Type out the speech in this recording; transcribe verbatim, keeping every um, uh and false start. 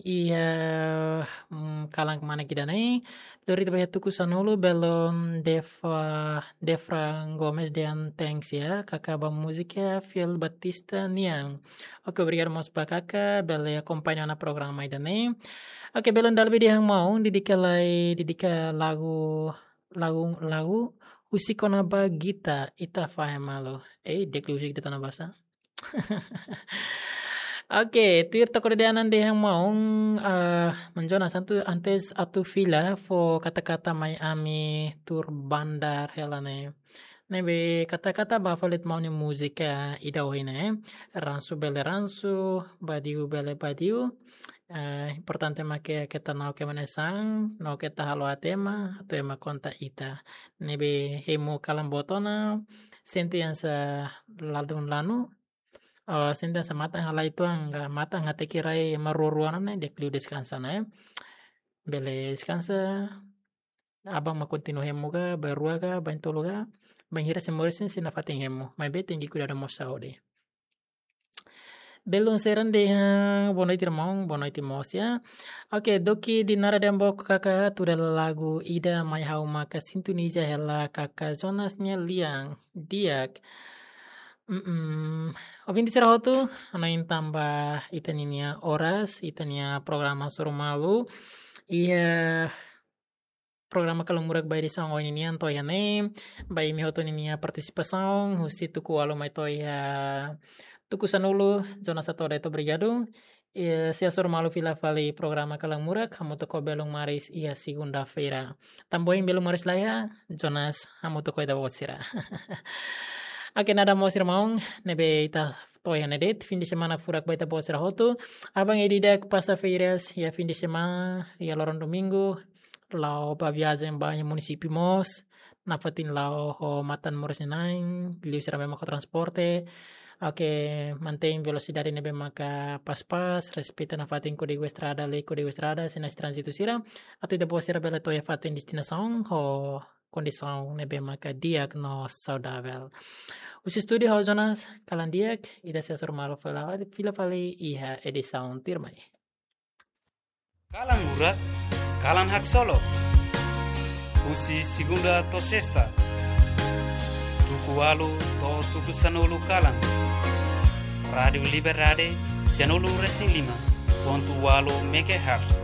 iha, mm, kalan kmanek ida-ne'e. Lori ita ba iha tuku sanulu, belun Deva, Devra Gomes dehan thanks ya, kaka ba múzika Fiel Batista nian. Oke, obrigadu mós ba kaka, bele akompaña ona programa ida-ne'e. Oke, belun dala ida dehan maun, dedika lai, dedika lagu, lagu, lagu, husik ona ba gita, ita fahe malu. Eh, di'ak liu husik gita na basa. Oke, tuir toko de anan dehan maun, ah, menjona santu antes atu fila fó kata-kata mai ami tuur bandar hela ne'e. Ne'ebé kata-kata ba fali ita maun nia múzika ida ohin ne'e. Ransu bele ransu, badiu bele badiu. Eh, importante mak keta na'ok ema nia saan, no keta halo aat ema, atu ema konta ita. Ne'ebé hemu kalan boot ona, sente hanesan ladún lanu, oh, sente hanesan matan halai tuan, ka matan hateke rai ema rua-rua ne'e, di'ak liu deskansa ne'e. Bele deskansa, aban mak kontinua hemu ka, bainrua ka, baintolu ka, bainhira sei moris ne'e sei nafatin hemu. Maibé tenke kuidadu mós saúde. Belun Seran dehan, boa noite, irmaun, boa noite mós ya. Oke, Doki Dinara dehan book kaka, tuur hela lagu ida mai ha'u maka sintoniza hela kaka Jonas nia lian, di'ak. Mm-mm. Ouvinte sira hotu, hanoin tanba ita ninia oras, ita-nia programa hasoru malu. Iha programa Kalan Murak ba edisaun ohin nian to'o iha ne'e, ba imi hotu ninia partisipasaun, husi tuku ualu mai to'o iha tuku sanulu, Jonas Satoda, obrigadu. Eh, sei hasoru malu fila fali programa Kalan Murak, hamutuk ho belun Maris iha segunda-feira. Tanba ohin belun Maris laiha, Jonas hamutuk ho ita-boot sira. Oke, nada mós irmaun, ne'ebé ita to'o iha ne'e de'it, fim de semana furak ba ita-boot sira hotu. Aban ida-idak pasa férias, iha fim de semana, iha loron domingu, la'o ba viajen ba iha munisípiu mós, nafatin la'o ho matan moris nia na'in, liu sira ne'ebé mak ho transporte. Oke, mantein velosidade ne'ebé maka pas-pas, respeita nafatin kódigu estrada, lei kódigu estrada, sinais tránzitu sira, atu ita-boot sira bele to'o iha fatin destinasaun ho kondisaun ne'ebé maka di'ak no saudavel. Husi estúdiu ha'u Jonas, kalan di'ak, ita sei hasoru malu fila, fila fali iha edisaun tuirmai. Kalan Murak, kalan haksolok. Husi segunda to'o sesta, tuku ualu to'o tuku sanulu kalan. Rádiu Liberdade, sianulu resin lima pontu ualu megahertz.